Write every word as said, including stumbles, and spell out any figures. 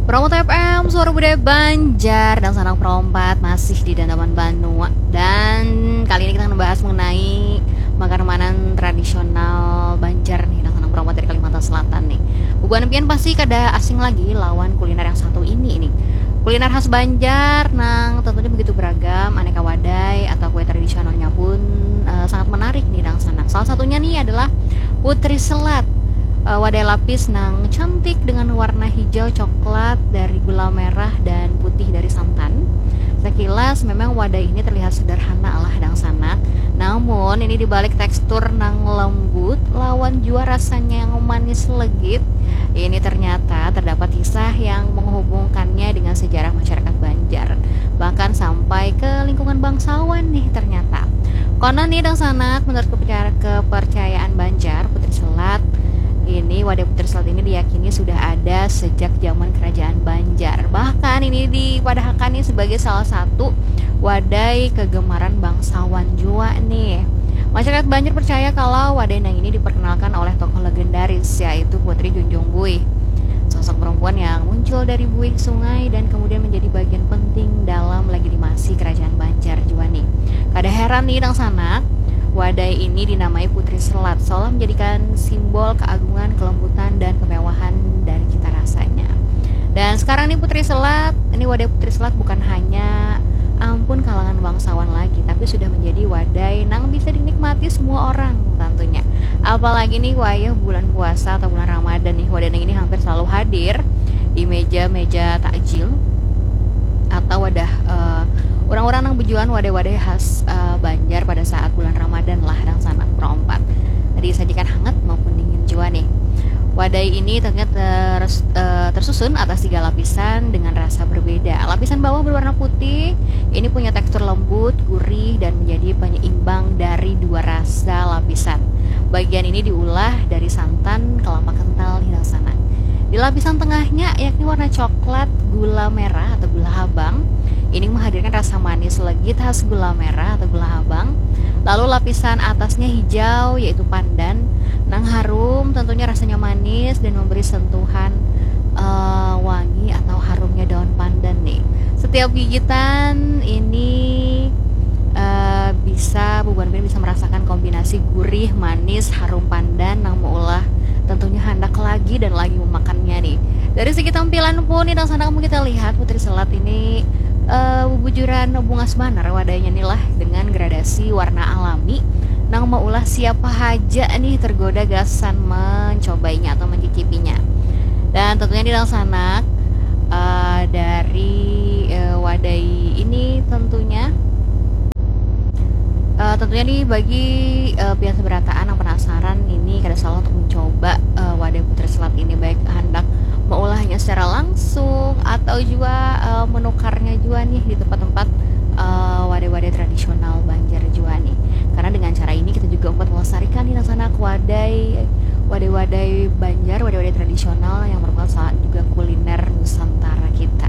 Promo T F M, suara budaya Banjar, dan sanang perompat masih di Dandaman Banua. Dan kali ini kita akan membahas mengenai makanan tradisional Banjar nih, dan sanang perompat dari Kalimantan Selatan nih. Bubuhan pian pasti kada asing lagi lawan kuliner yang satu ini nih. Kuliner khas Banjar nang tentunya begitu beragam, aneka wadai atau kue tradisionalnya pun uh, sangat menarik nih, dan sanang. Salah satunya nih adalah Putri Selat, uh, wadai lapis nang cantik dengan warna hijau coklat dari gula merah dan putih dari santan. Sekilas memang wadai ini terlihat sederhana lah, dangsanak. Namun ini dibalik tekstur nang lembut lawan jua rasanya yang manis legit, ini ternyata terdapat kisah yang menghubungkannya dengan sejarah masyarakat Banjar, bahkan sampai ke lingkungan bangsawan nih ternyata. Konon nih, dangsanak, menurut kepercayaan Banjar, Putri Selat ini, wadai Putri Selat ini diyakini sudah ada sejak zaman kerajaan Banjar. Bahkan ini dipadahakan nih sebagai salah satu wadai kegemaran bangsawan jua nih. Masyarakat Banjar percaya kalau wadai nang ini diperkenalkan oleh tokoh legendaris, yaitu Putri Junjung Buih. Sosok perempuan yang muncul dari buih sungai dan kemudian menjadi bagian penting dalam legitimasi kerajaan Banjar jua nih. Kada heran nih, dangsanak, wadai ini dinamai Putri Selat seolah menjadikan simbol keagungan, kelembutan, dan kemewahan dari cita rasanya. Dan sekarang nih, Putri Selat, ini wadai Putri Selat bukan hanya ampun kalangan bangsawan lagi, tapi sudah menjadi wadai nang bisa dinikmati semua orang tentunya. Apalagi nih wayah bulan puasa atau bulan Ramadan nih, wadai nang ini hampir selalu hadir di meja-meja takjil atau wadah, eh, orang-orang nang bejualan wadai-wadai khas, eh, Banjar pada saat bulan Ramadan lah, dangsanak, perompat. Disajikan hangat maupun dingin jua nih. Wadai ini tentunya ter-, eh, tersusun atas tiga lapisan dengan rasa berbeda. Lapisan bawah berwarna putih, ini punya tekstur lembut, gurih, dan menjadi penyeimbang dari dua rasa lapisan. Bagian ini diulah dari santan kelapa kental nih, dangsanak. Di lapisan tengahnya, yakni warna coklat gula merah atau gula habang, ini menghadirkan rasa manis legit khas gula merah atau gula habang. Lalu lapisan atasnya hijau, yaitu pandan, nang harum, tentunya rasanya manis dan memberi sentuhan, eh, wangi atau harumnya daun pandan nih. Setiap gigitan ini, eh, bisa, bubuhan pian bisa merasakan kombinasi gurih, manis, harum pandan nang meulah tentunya handak lagi dan lagi memakannya nih. Dari segi tampilan pun nih, dangsanak, mun kita lihat Putri Selat ini, eh, bubujuran bungas banar wadainya nih lah, dengan gradasi warna alami nang meulah siapa haja nih tergoda gasan mencobainya atau mencicipinya. Dan tentunya nih, dangsanak, eh, dari, eh, wadai ini tentunya, eh, tentunya nih, bagi, eh, pian seberataan yang penasaran ini, kada salah untuk mencoba, eh, wadai Putri Selat ini, baik handak meulahnya secara langsung atau jua, eh, menukarnya jua nih di tempat-tempat, eh, wadai-wadai tradisional Banjar jua nih. Karena dengan cara ini kita juga dapat melestarikan nih, dangsanak, wadai, wadai-wadai Banjar, wadai-wadai tradisional yang merupakan salah juga kuliner Nusantara kita.